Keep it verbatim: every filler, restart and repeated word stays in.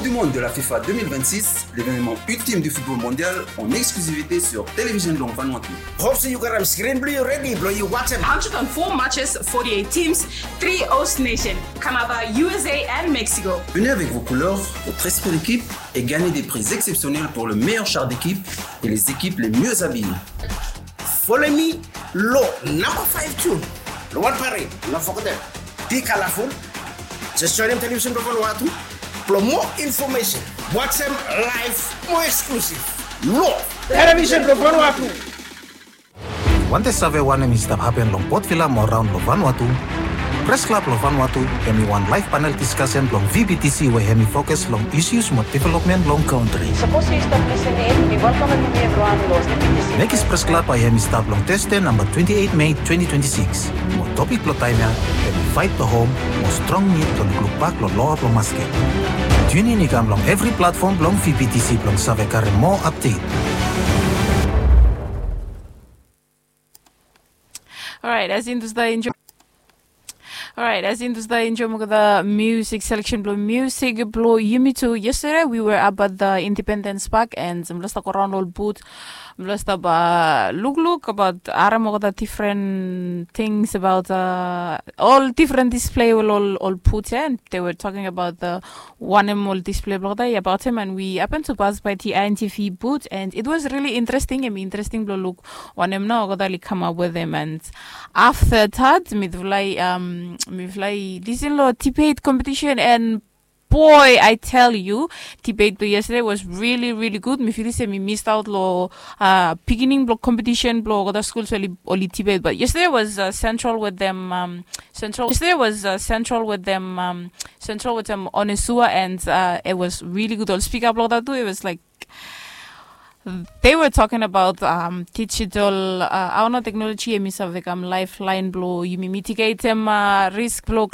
Du monde de la FIFA deux mille vingt-six, l'événement ultime du football mondial en exclusivité sur Télévision Long Vanuatu. Hope se yu gat am screen blong yu redi blong yu wajem. Hundred and four matches, forty-eight teams, three host nation, Canada, U S A and Mexico. Venez avec vos couleurs, votre esprit d'équipe et gagnez des prix exceptionnels pour le meilleur char d'équipe et les équipes les mieux habillées. Follow me long number five tune. Long wan parade, no forget dem. Be colorful. Just join dem Television Vanuatu. Blong more information, wajem live, more exclusive. Long Television Vanuatu. Wantem save wanem i stap hapen long Port Vila mo raon long Vanuatu? Press Club long Vanuatu hemi wan live panel discussion blong V B T C we hemi fokus long issues mo development long country. Sapos yu stap lisin in, mi welkamem yumi evriwan long V B T C. Mekis Press Club bae hemi stap long Thursday number twenty-eight May twenty twenty-six. Mo topik blong taem ya hemi fight blong hom mo strong nid blong lukluk bak long loa blong masket. Tune in i kam long evri platform blong V B T C blong save karem moa update. Alright, as in, does that enjoy? Alright, as in, does that enjoy mo the music selection blong music blong yumi tu? Yesterday we were up at the Independence Park and mifala stap go raon long ol booth. Mifala stap lukluk about harem olgeta different things about ol different display we ol ol put ya, and they were talking about the wanem ol display blong olgeta i about him, and we happen to pass by the I N T V booth, and it was really interesting. Hemi interesting blong luk wanem nao olgeta oli come up with him, and after that mifala i um, mifala i lisin long debate competition, and boy, I tell you, debate blong yesterday was really, really good. Mi filim se mi missed out long uh, beginning blong competition blong olgeta schools we oli, oli debate. But yesterday was uh, central with them. Um, central. Yesterday was uh, central with them. Um, central with them Onesua, and uh, it was really good. Ol speaker blong olgeta tu, it was like they were talking about um, digital uh, hao nao technology hemi save kam lifeline blong yumi mitigatem uh, risk blong